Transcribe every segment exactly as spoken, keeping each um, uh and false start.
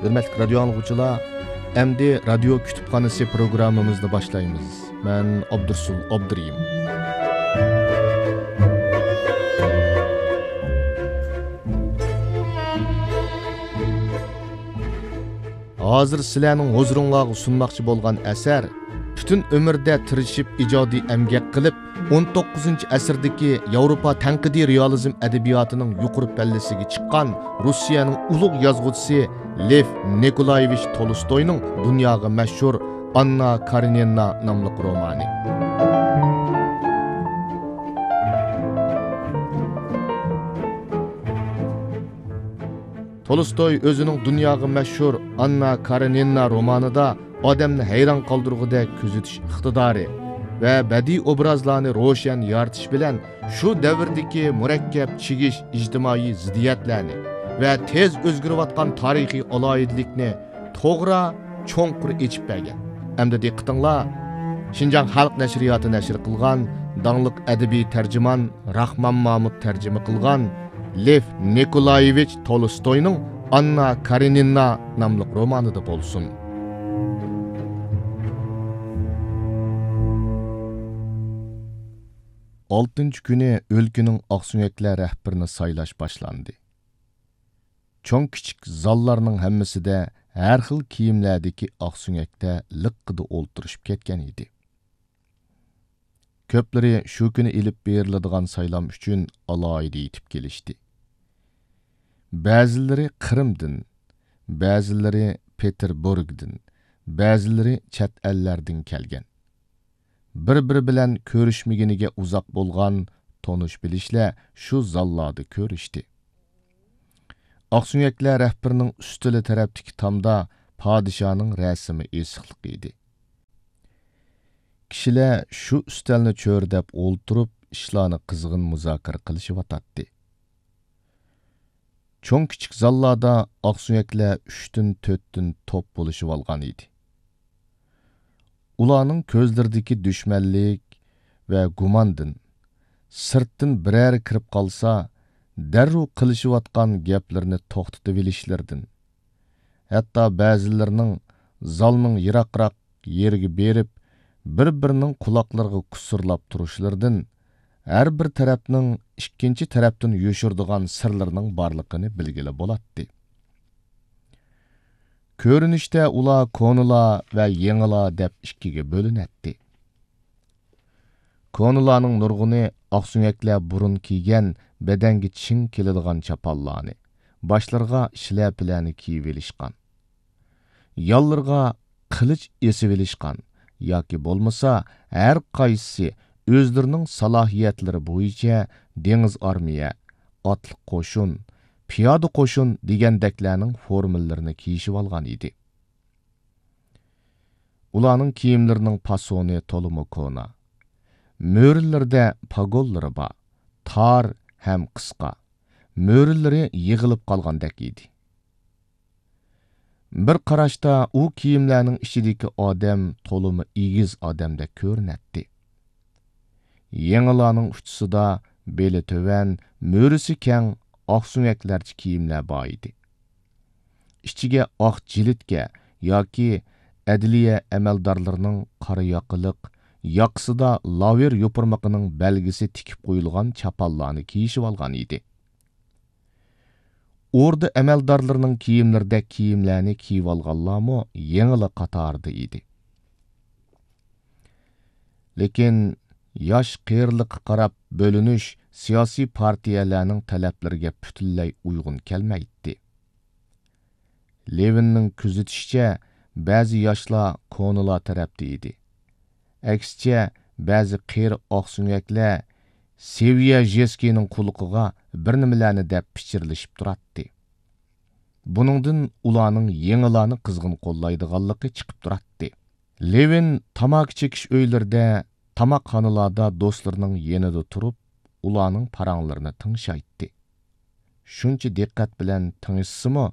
ھۆرمەتلىك رادىيو ئاڭلىغۇچىلار، ئەمدى رادىيو كۇتۇپخانىسى پروگراممىمىزنى باشلايمىز. مەن ئابدۇرسۇل ئابدۇرېھىم. ھازىر سىلەرنىڭ ھۇزۇرۇڭلارغا سۇنماقچى بولغان ئەسەر پۈتۈن ئۆمرىدە تىرىشىپ ئىجادىي ئەمگەك قىلىپ، ئون توققۇزىنچى ئەسىردىكى ياۋروپا تەنقىدىي رېئالىزم ئەدەبىياتىنىڭ يۇقىرى پەللىسىگە چىققان روسىيەنىڭ ئۇلۇغ يازغۇچىسى لېف نىكولايېۋىچ تولستوينىڭ دۇنياغا مەشھۇر ئاننا كارېنىنا ناملىق رومانى. تولستوي ئۆزىنىڭ دۇنياغا مەشھۇر ئاننا كارېنىنا رومانىدا ئادەمنى ھەيران قالدۇرغۇدەك كۆزىتىش ئىقتىدارى ۋە بەدىئىي ئوبرازلارنى روشەن يارىتىش بىلەن شۇ دەۋردىكى مۇرەككەپ چىگىش ئىجتىمائىي زىددىيەتلەرنى ۋە تېز ئۆزگىرىۋاتقان تارىخىي ئالاھىدىلىكنى توغرا، چوڭقۇر ئېچىپ بەرگەن. ئەمدى دىققىتىڭلار شىنجاڭ خەلق نەشرىياتى نەشر قىلغان داڭلىق ئەدەبىي تەرجىمان راخمان مامۇت تەرجىمە قىلغان لېف نىكولايېۋىچ تولستوينىڭ ئاننا كارېنىنا ناملىق رومانىدا بولسۇن. ئالتىنچى كۈنى ئۆلكىنىڭ ئاقسۆڭەكلەر رەھبىرىنى سايلاش باشلاندى. چوڭ-كىچىك زاللارنىڭ ھەممىسىدە ھەر خىل كىيىملەردىكى ئاقسۆڭەكلەر لىققىدە ئولتۇرۇشۇپ كەتكەن ئىدى. كۆپلىرى شۇ كۈنى ئېلىپ بېرىلىدىغان سايلام ئۈچۈن ئالاھىدە يېتىپ كېلىشتى. بەزىلىرى قىرىمدىن، بەزىلىرى پېتېربۇرگدىن، بەزىلىرى چەت ئەللەردىن كەلگەن. بىر-بىرى بىلەن كۆرۈشمىگىنىگە ئۇزاق بولغان تونۇش-بىلىشلەر شۇ زاللاردا كۆرۈشتى. ئاقسۆڭەكلەر رەھبىرىنىڭ ئۈستىلى تەرەپتىكى تامدا پادىشاھنىڭ رەسىمى ئېسىقلىق ئىدى. كىشىلەر شۇ ئۈستەلنى چۆرىدەپ ئولتۇرۇپ، ئىشلارنى قىزغىن مۇزاكىرە قىلىشىۋاتاتتى. چوڭ-كىچىك زاللاردا ئاقسۆڭەكلەر ئۈچتىن، تۆتتىن توپ بولۇشۇۋالغان ئىدى. ئۇلارنىڭ كۆزلىرىدىكى دۈشمەنلىك ۋە گۇماندىن، سىرتتىن بىرەرى كىرىپ قالسا، دەررۇ قىلىشىۋاتقان گەپلىرىنى توختىتىۋېلىشلىرىدىن، ھەتتا بەزىلىرىنىڭ زالنىڭ يىراقراق يېرىگە بېرىپ، بىر-بىرىنىڭ قۇلاقلىرىغا كۇسۇرلاپ تۇرۇشلىرىدىن ھەر بىر تەرەپنىڭ ئىككىنچى تەرەپتىن يوشۇرىدىغان سىرلىرىنىڭ بارلىقىنى بىلگىلى بولاتتى. كۆرۈنۈشتە ئۇلار كونىلار ۋە يېڭىلار دەپ ئىككىگە بۆلۈنەتتى. كونىلارنىڭ نۇرغۇنى ئاقسۆڭەكلەر بۇرۇن كىيگەن بەدەنگە چىڭ كېلىدىغان چاپانلارنى، باشلىرىغا شىلەپىلەرنى كىيىۋېلىشقان. يانلىرىغا قىلىچ ئېسىۋېلىشقان ياكى بولمىسا ھەر قايسىسى ئۆزلىرىنىڭ سالاھىيەتلىرى بويىچە دېڭىز ئارمىيە، ئاتلىق قوشۇن، پىيادە قوشۇن دېگەندەكلەرنىڭ فورمىلىرىنى كىيىشىۋالغان ئىدى. ئۇلارنىڭ كىيىملىرىنىڭ پاسونى تولىمۇ كونا. مۈرىلىرىدە پاگونلىرى بار، تار ھەم قىسقا. مۈرىلىرى يىغىلىپ قالغاندەك ئىدى. بىر قاراشتا ئۇ كىيىملەرنىڭ ئىچىدىكى ئادەم تولىمۇ ئېگىز ئادەمدەك كۆرۈنەتتى. يېڭىلارنىڭ ئۇچىسىدا بېلى تۆۋەن، مۈرىسى كەڭ، ئاقسۆڭەكلەرچە كىيىملەر بار ئىدى. ئىچىگە ئاق جىلىتكە ياكى ئەدلىيە ئەمەلدارلىرىنىڭ قارا ياقىلىق، ياقىسىدا لاۋېر يوپۇرمىقىنىڭ بەلگىسى تىكىپ قويۇلغان چاپانلارنى كىيىشىۋالغان ئىدى. ئوردا ئەمەلدارلىرىنىڭ كىيىملىرىدەك كىيىملەرنى كىيىۋالغانلارمۇ يېڭىلار قاتارىدا ئىدى. لېكىن ياش قېرىلىققا قاراپ بۆلۈنۈش سىياسىي پارتىيەلەرنىڭ تەلەپلىرىگە پۈتۈنلەي ئۇيغۇن كەلمەيتتى. لېۋىننىڭ كۆزىتىشىچە، بەزى ياشلار كونىلار تەرەپتە ئىدى. ئەكسىچە، بەزى قېرى ئاقسۆڭەكلەر سېۋيەژېسكىينىڭ قۇلىقىغا بىر نېمىلەرنى دەپ پىچىرلىشىپ تۇراتتى. بۇنىڭدىن ئۇلارنىڭ يېڭىلارنى قىزغىن قوللايدىغانلىقى چىقىپ تۇراتتى. لېۋىن تاماكا چېكىش ئۆيلىرىدە، تاماقخانىلاردا دوستلىرىنىڭ يېنىدا تۇرۇپ، ئۇلارنىڭ پاراڭلىرىنى تىڭشايتتى. شۇنچە دىققەت بىلەن تىڭشىسىمۇ،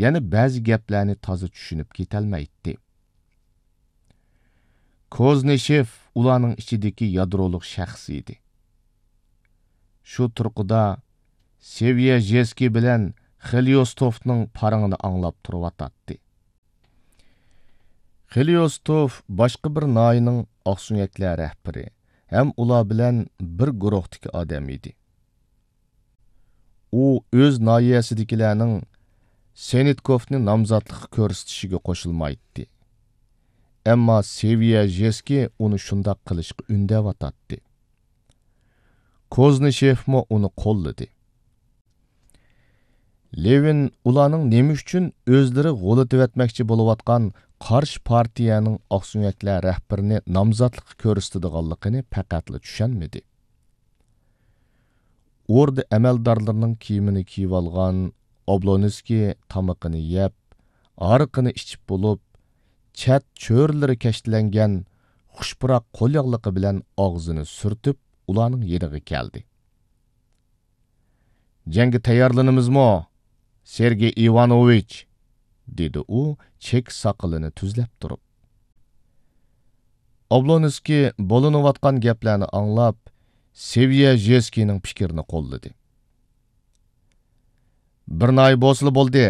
يەنە بەزى گەپلەرنى تازا چۈشىنىپ كېتەلمەيتتى. كوزنىشېف ئۇلارنىڭ ئىچىدىكى يادرولۇق شەخس ئىدى. شۇ تۇرقىدا سېۋيەژېسكىي بىلەن خېليوستوفنىڭ پارىڭىنى ئاڭلاپ تۇرۇۋاتاتتى. خېليوستوف باشقا بىر ناھىيەنىڭ ئاقسۆڭەكلەر رەھبىرى ھەم ئۇلار بىلەن بىر گۇرۇھتىكى ئادەم ئىدى. ئۇ ئۆز ناھىيەسىدىكىلەرنىڭ سېنتكوفنى نامزاتلىققا كۆرسىتىشىگە قوشۇلمايتتى. ئەمما سېۋيەژېسكىي ئۇنى شۇنداق قىلىشقا ئۈندەۋاتاتتى. كوزنىشېفمۇ ئۇنى قوللىدى. لېۋىن ئۇلارنىڭ نېمە ئۈچۈن ئۆزلىرى غۇلىتىۋەتمەكچى بولۇۋاتقان قارشى پارتىيەنىڭ ئاقسۆڭەكلەر رەھبىرىنى نامزاتلىققا كۆرسىتىدىغانلىقىنى پەقەتلا چۈشەنمىدى. ئوردا ئەمەلدارلىرىنىڭ كىيىمىنى كىيىۋالغان ئوبلونسكىي تامىقىنى يەپ، ھارىقىنى ئىچىپ بولۇپ، چەت چۆرىلىرى كەشتىلەنگەن خۇش پۇراق قولياغلىقى بىلەن ئاغزىنى سۈرتۈپ، ئۇلارنىڭ يېنىغا كەلدى. «جەڭگە تەييارلىنىمىزمۇ، سېرگېي ئىۋانوۋىچ؟» دېدى ئۇ چېكە ساقىلىنى تۈزلەپ تۇرۇپ. ئوبلونسكىي بولۇنۇۋاتقان گەپلەرنى ئاڭلاپ، سېۋيەژېسكىينىڭ پىكرىنى قوللىدى. «بىر ناھىيە بولسىلا بولدى.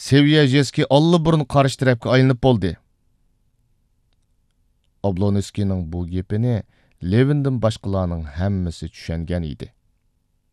سېۋيەژېسكىي ئاللىبۇرۇن قارشى تەرەپكە ئايلىنىپ بولدى.» ئوبلونسكىينىڭ بۇ گېپىنى لېۋىندىن باشقىلارنىڭ ھەممىسى چۈشەنگەن ئىدى.